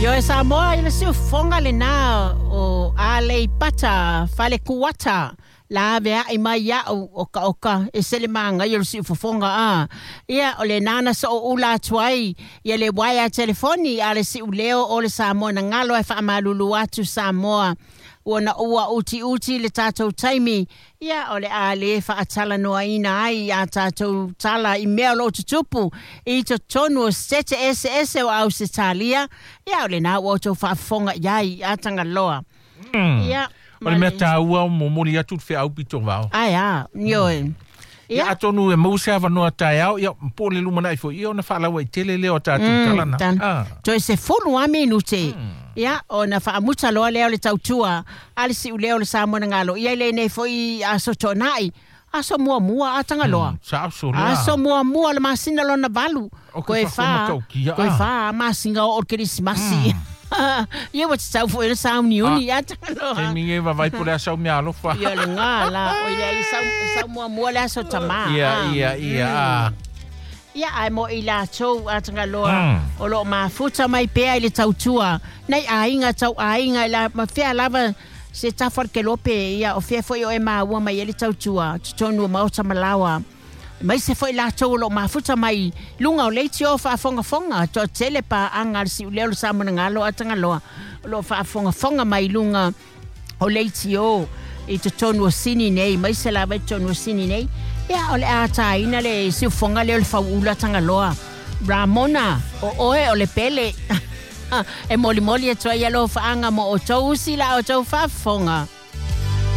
Ioe Samoa i le siufofoga lenā o Aleipata Falekuata la avea'i mai ia'u okaoka e se le magaia o le siufofoga a. Ia o lenā na sooula atu ai ia le uaea telefoni a le siuleo o le Samoa na galo ae faamalulu atu Samoa ua na ua utiuti le tatou taimi. Ia, o le a le faatalanoaina ai a tatou tala i mea o lo o tutupu i totonu o setete eseese o Ausetalia. Ia, o lenā ua outou faafofoga i ai a Tagaloa. Ia, O le mea taua o momoli atu le feau pito vao. Ae a, ioe. Ia, atonu e maua se avanoa taeao, ia, po o le lumanai foi, ia ona faalauaitele lea o tatou tala na. Ah. Toe 10 lava minute. Ia, ona faamuta loa lea o le tautua a le siuleo o le Samoa na galo ia i lenei foi aso toonai. Aso muamua a Tagaloa. Sa aso lea. Aso muamua le masina lona valu. O ke Koe whakoma whā, taukia, koe ah. whā masina o o le Kerisimasi. Ia ua tatau foi ona sauniuni a Tagaloa. Taimi nei vavai po o le a sau mea alofa. Ia le ngā la, o ia i sau, sau muamua le aso tamā. Ia, Ah. ia, ia, ah. Ia, ae mo i latou a Tagaloa o lo o mafuta mai pea i le tautua nei aiga tau aiga i la ma fea lava se tafa o le kelope ia o fea foi o e maua mai ai le tautua totonu o maota ma laoa mai se foi latou o lo o mafuta mai luga o leitio faafogafoga toatele paaga a le siuleo le Samoanagalo a Tagaloa o lo o faafogafoga mai luga o leitio i totonu o Sini nei mai se lava i totonu o Sini nei. Ia, o le a taina le siufofoga lea o le fauula Tagaloa. Ramona, o oe o le pele. E molimoli atu ai alofaaga mo outou usi la outou faafofoga.